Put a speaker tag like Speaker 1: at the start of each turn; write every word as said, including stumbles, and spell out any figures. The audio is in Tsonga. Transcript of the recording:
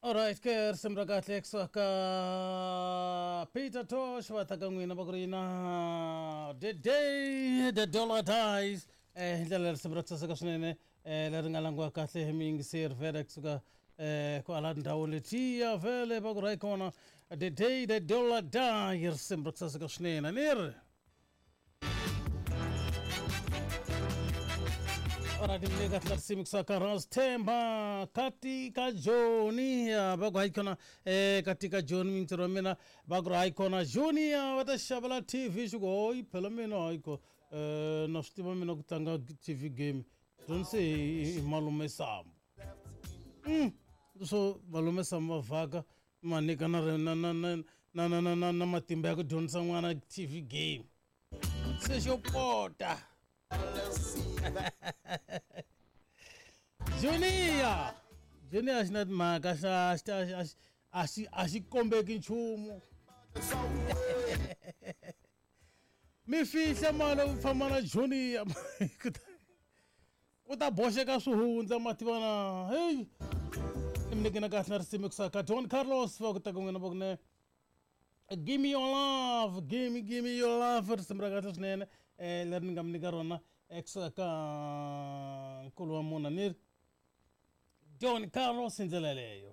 Speaker 1: Alright ke risimu ra kahle kusuka ka Peter Tosh va ta ka n'wina va ku ri na the day the dollar dies eh hi ndlela risimu ra ku saseka swinene eh leri nga langiwa kahle hi muyingiseri vhele kusuka eh kwala ndhawu letiya vhele va ku ri kona the day the dollar die risimu ra ku saseka swinene ni ri Alright, ni kahle risimu kusuka Rose Themba katika Joni va ku hayi khona eh katika Joni mintirho wa mina va ku ri hayi khona Junior va ta xavela T V xi ku hoyi phela mina hayi ko eh na swi tiva mina ku tlanga T V game dyondzise hi malume Sambo mm so malume Sambo va vhaka ma nyika na na na na na na na na matimba ya ku dyondzisa n'wana T V game se xo pota Junior Junior xi na timhaka xa a xi a xi kombeki nchumu mi fihla mali u famba na Junior ku ta boxeka swihundla mativana hey ni mi nyike na kahle na risimu kusuka ka Don Carlos va ku ta ku n'wina va ku ne give me your love give me give me your love risimu ra kahle swinene eh leri ni nga mi nyika rona ekusuka ka nkulu wa munhu ni Don Carlos hi ndlela yeleyo.